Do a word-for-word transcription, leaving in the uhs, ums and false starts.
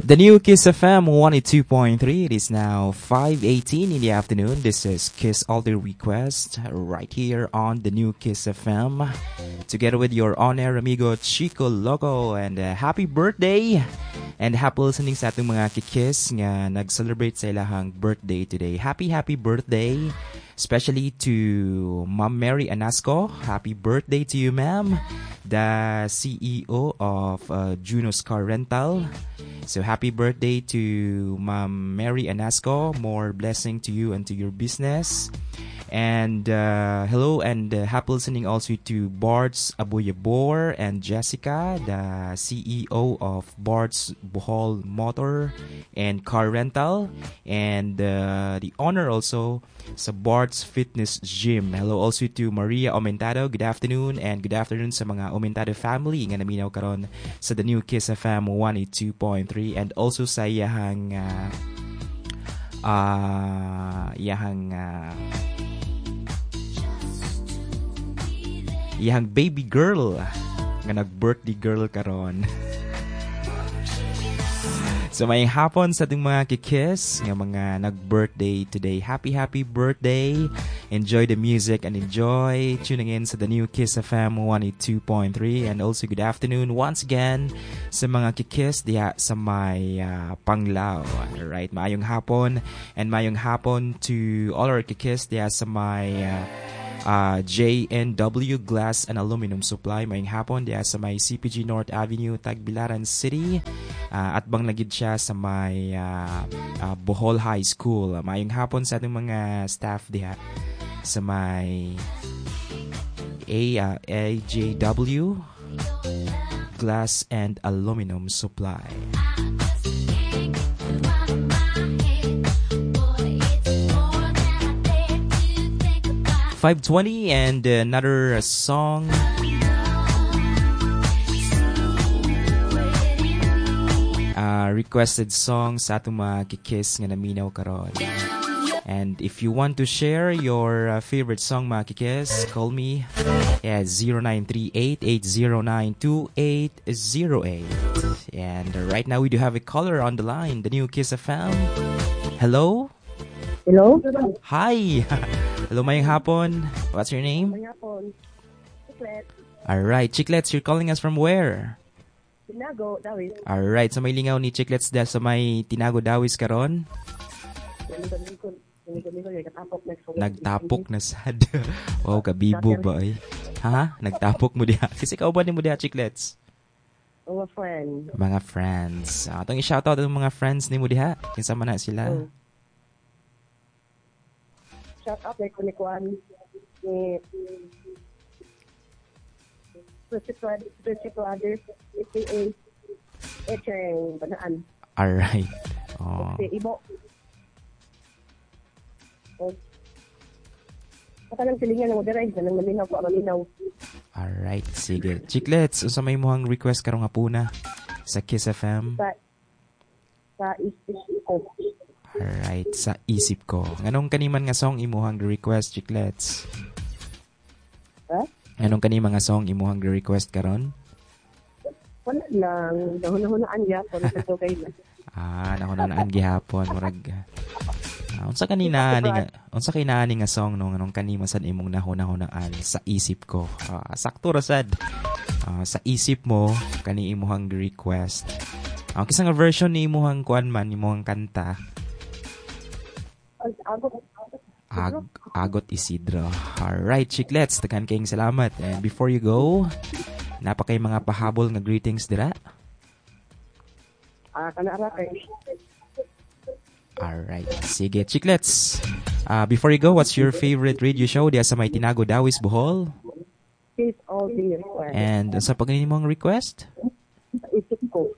The new Kiss F M one oh two point three. It is now five eighteen in the afternoon. This is Kiss All Day Request right here on the new Kiss F M. Together with your on-air amigo Chico Loco, and uh, happy birthday and happy listening sa atong mga kikiss nga nag-celebrate sa ilahang birthday today. Happy, happy birthday, especially to Ma'am Mary Anasco. Happy birthday to you, ma'am. The C E O of uh, Juno's Car Rental. So happy birthday to Ma'am Mary Anasco. More blessing to you and to your business. And uh, hello and uh, happy listening also to Bart's Aboyabor and Jessica, the C E O of Bart's Bohol Motor and Car Rental, and uh, the owner also sa Bart's Fitness Gym. Hello also to Maria Aumentado. Good afternoon, and good afternoon sa mga Aumentado family nga naminaw karon sa the new Kiss F M one oh two point three and also sa iyahang uh, uh, iyahang uh, iyang baby girl nga nag-birthday girl karon. So may hapon sa atong mga kikis nga mga nag-birthday today. Happy, happy birthday. Enjoy the music and enjoy tuning in sa the new Kiss F M one oh two point three, and also good afternoon once again sa mga kikis diha sa may uh, Panglao. Alright, maayong hapon and maayong hapon to all our kikis diha sa may uh, uh, J N W Glass and Aluminum Supply. Maayong hapon diha sa may C P G North Avenue, Tagbilaran City. Uh, at bang lagid siya sa may uh, uh, Bohol High School. Uh, maayong hapon sa atong mga staff diha sa may A, uh, A J W Glass and Aluminum Supply. Five twenty and another song. Uh, requested song sa atong mga kikis nga naminaw karon. And if you want to share your uh, favorite song, mga kikis, call me at zero nine three eight, eight zero nine, two eight zero eight. And right now we do have a caller on the line, the new Kiss F M. Hello? Hello? Hi! Hello, mayong hapon. What's your name? Mayong hapon. Chiclets. Alright, Chiclets, you're calling us from where? Tinago, Dawis. Alright, so may lingaw ni Chiclets da sa may Tinago Dawis karon? Nagtapok na sad. Wow, kabibo ba ay? Ha? Nagtapok mo diha. Kasi kauban ni mo diha, Chiclets? Mga friends. Mga friends. Uh, atong i-shoutout ang mga friends ni mo diha. Kinsa man na sila? Oh. Shout out kay Kunikuan ni Richie Brothers, A K A Echeng Banaan. Alright. Oh. Si Ibo. O, Baka lang silingan ng moderay, ganang maminaw ko, maminaw. Alright, sige. Chiclets, unsa may imong request karong hapuna sa Kiss F M? Sa, sa isip ko. Alright, sa isip ko. Nganong kaniman nga song imuhang request, Chiclets? Ha? Nganong kanima nga song imuhang request karon? Wala lang. Nahuna-hunaan gyapon. Sa kay na. Ah, nahuna-hunaan gihapon. Murag ah, unsa kanina ani nga unsa kay naani nga song, no, nganong kanima sad imong nahuna-hunaan sa isip ko? Ah, sakto ra sad. Ah, sa isip mo kani imuhang request. Ang kinsa nga version ni imuhang kuan man imuhang kanta? Agot. Ag Agot Isidro. Alright, Chiclets, daghan kayong salamat. And before you go, napakay mga pahabol nga greetings dira? Ah, kana ra kay. Alright, sige. Chiclets, uh, before you go, what's your favorite radio show diya sa may Tinago Dawis, Bohol? Kiss All Day Request. And sa pag mong request? Sa isip ko.